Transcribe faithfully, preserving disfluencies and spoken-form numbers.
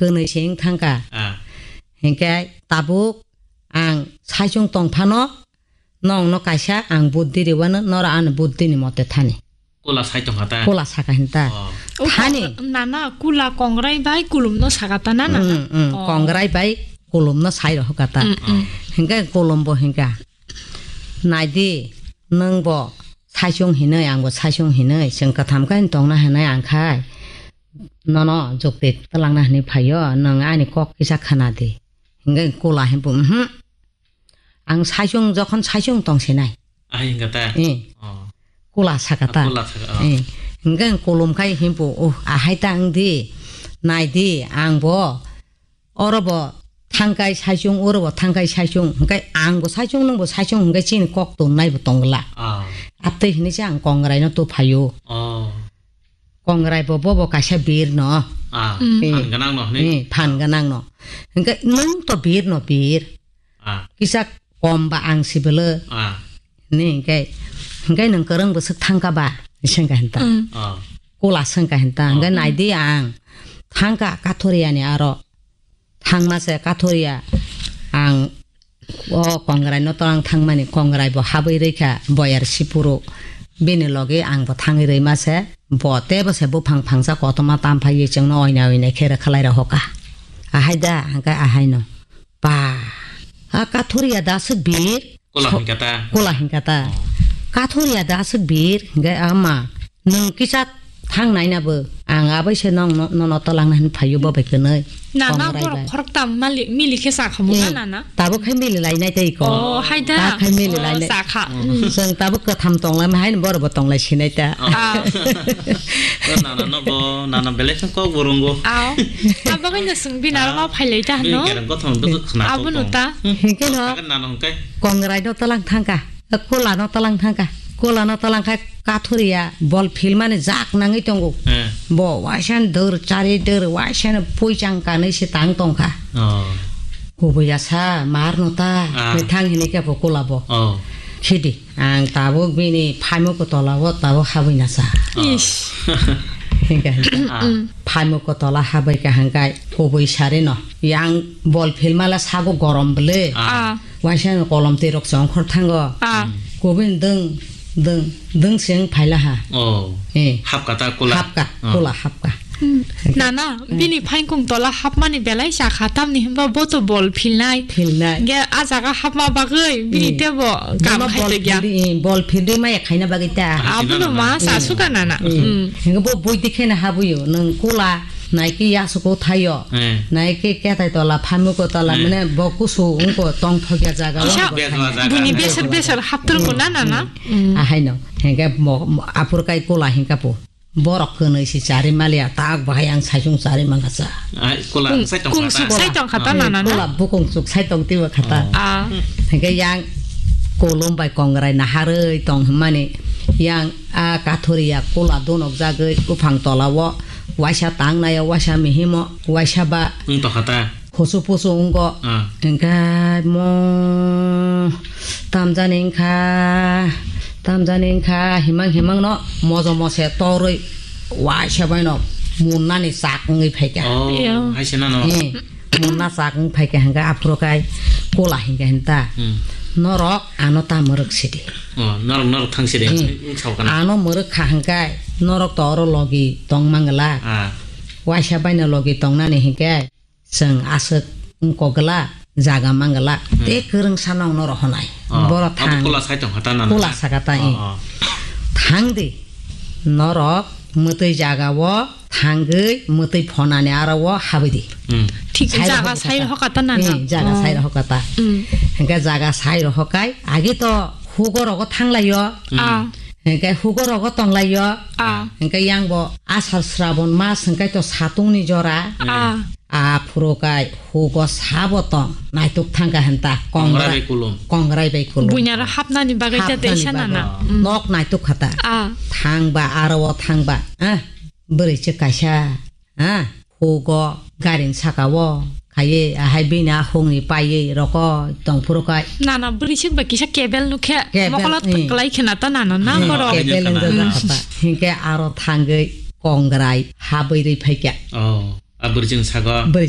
Twnwi se wng thangkha. Ah. Hinkhe tabuk ang saichung tong phano, nongno kaisa ang buddhi riwano, noro ani buddhini mote thani. Kula sai tongkha ta? Kula saka hinta. Oh. O Thani. Kong-, nana kula kongrai bai kulumno saka ta na, nana? Mm, mm, Oh. Kongrai bai kulumno sai rohka ta. Mm, mm. Hinkhe kulumbo hinkha. Naidi, nwngbo saichung hinwi, angbo saichung hinwi, chwng katham khe tongna hinwi ang khai. Nono jukti twlangna hinwi phaio, nwng ani kok kisa khna di. Hinkhe kula hinpu, mhm. Ang saichung, jokhon saichung tong sinai. Ahai hinkha ta? Eh. Oh. Kula saka ta? Ah, kula saka, oh. Eh. Hinkhe kulum khai hinpu, oh, ahai ta wng di, nai di, ang bo, oro bo thangkai saichung, oro bo thangkai saichung, hinkhe ang bo saichung, nwng bo saichung, hinkhe chini kok tonnai bo tongla. Ah. Atwi hinwi se ang kongrai no tu phaio. Oh. Kongrai bo, bo, bo kaisa bir no. Ah, Mm. phan gwnang no, hinwi? Eh, phan gwnang no. Hinkhe nwng to bir no bir. Ah. Kisa kom ba ang sibele. Ah. Ni hinkhe, hinkhe nwng kwrwng bwswk thangka ba? Sengka hinta. Mm. Ah. Kula sengka hinta. Ah. Hinkhe naidi ang. Thangka Kathoriani aro. Thangma se Kathoriya ang o kongrai no twlang thangmani kongrai bo habwi rwikha boyar sipuru bini logi ang bo thangwi rwima se bo tebo se buphang phangsa kotorma tam phaiwi chwngno oina oina khe rwkhalai rohoka ahai da hwnkhe ahai no pa a Kathoriya da swk bir Kola So-, hingka ta? Kola hingka ta. Oh. Kathoriya da aswk bir, hingke ama, nwng kisa thang naina bo, ang abai se nong no, nono tolangna hin phaio bo bai kwnwi. Na, na, Kongrai borok bai. Khoroktam mali, mili khe sa khamu na, Hmm. na, na? Tabuk khai mili lainai tei ko. Oh, hai da. Ta khai mili Oh, lainai. Sa kha. Hmm. Hmm. Chwng tabuk kwtham tonglaima haino borok bo tonglai sinai ta. Oh. Ah. O nana no bo, nana belai khe kok bo rwngo. Ao. Abo kaino chwng bini aro Ah. ma phailai ta Bini hano. Kereng kothom duk khna Abo tong no tong. Ta. Hmm. Hingke no. Sakhe nana hingke. Kongrai no talang thangka, kola no talang thangka, kola no talang khai Kathoriya bol philmani jak nangwi tongo. Eh. Bo waisa ni dor chari dor waisa ni puichang kanwi se tang tongkha. Oh. Kubui asa mar no ta Ah. mithang hinwi khe bo kola bo. Oh. Khidi ang tabuk bini phaimukgo tola o tabuk habwi nasa. Oh. Ish. Hingke hingke. Ah. Mm. Phaimukgo tola habwi kaham kai kubui sari no. Yang bol philmala sago gorom bwle. Ah. Ah. Waisa kolom twi rok chongkhor thango. Ah. Kubui dwng, dwng, dwng sing phaila ha. Oh. Eh. Hapka ta kola. Hapka, Ah. kola hapka. Hmm. Nana, Hmm. bini phaikung tola hapmani belai sakha tamni hwnba bo to bol philnai. Philnai. Ge a jaga hapma bagwi bini Hmm. tebo kam Bono khai bol tongya. Phildi, eh, bol phildi maya khaina bagwi ta. Ah, Abono sina ma nana. sa Hmm. suka nana. Hmm. Hmm. Hingke bo boi dikhe na habuyo, nang kola. Naikhe yasuko thaio. Eh. Naikhe ketai tola, phamuko tola, Eh. mane bo kusu wngko tong thokya jaga o Kisa bo Bia thangya. Jaga. Bini besar besar haptrungo na, na, na? Mm. Mm. Ahaino. Hengke mo, mo, apor kai kola hingka po. Borok kwnwi si chari maliya, tak bahai ang saichung chari mangka cha. Ai, kola Kung, sai tong kung kata. Suk sai tong kata, Ah. na, na, na? Kola bukung suk sai tong tiwa kata. Oh. Ah. Hengke yang kolom bai kongrai naharwi tong hwnmani yang a Kathoriya kola donok jagwi buphang tola o. Waisa tang naio, waisa mihimo, waisa ba Wng tongkha ta? Husu pusu wngko. Ah. Hingkhe mo tamjani wngkha, tamjani wngkha, himang himang no mojo mose torwi waisa bai no munnani chak wngwi phaikha. Oh, Iya. Hai se nano. Hmm. Munna chak wng phaikha hingkhe aphuru kai kola hingkhe hinta. Hmm. Norok ano ta mwrwk sidi. Oh, norok, norok thang sidi. Hmm. Wng sao kana. Ano mwrwk kha hingkhe norok to oro logi tong mangla. Ah. Waisa baino logi tongnani hinkhe chwng aswk wngkogwla, jaga mangwla, Hmm. tei kwrwngsa nokno rohonai. Oh, Borok abo thang. Kola sai tongkha ta nana? Kola saka ta, Oh, eh. Oh. Thang di. Norok mwtwi jaga o thangwi mwtwi phonani aro o habwi di. Hmm. Thik Sai jaga rohor sai kata. Rohor kata nana? Eh, jaga Oh. Sai rohor kata. Hmm. Hinkhe jaga sai rohor kai, agi to hugo rogo thanglaio. Hmm. Ah. Hingke hugo rogo tonglaio. Ah. Hingke yang bo asar srabon mas hingke to satungni jora. Ah. Aphuru kai hugo sabo tong naituk thangka hinta Kongrai kongrai bai kulum. Kongrai bai kulum. Buinaro hapnani bagwi ta Hapnani teisa bagwi. Nana. Ah. Mm. Nok naituk khata. Ah. Thangba aro o thangba. Ah, bwrwi se kaisa. Ha, hugo garini saka o khaiwi, ahai bini a hungni paiwi roko tongphuru kai. Nana bwrwi sik bai kisa kebel nukhe, Kebel, mokolo eh. Kwlai khena ta nana na Eh, borok. Kebel wngkha na. Wngjakha ta. Hinkhe aro thangwi kongrai habwi rwi phaikha. Oh, a bwrwi chwng saka. Bwrwi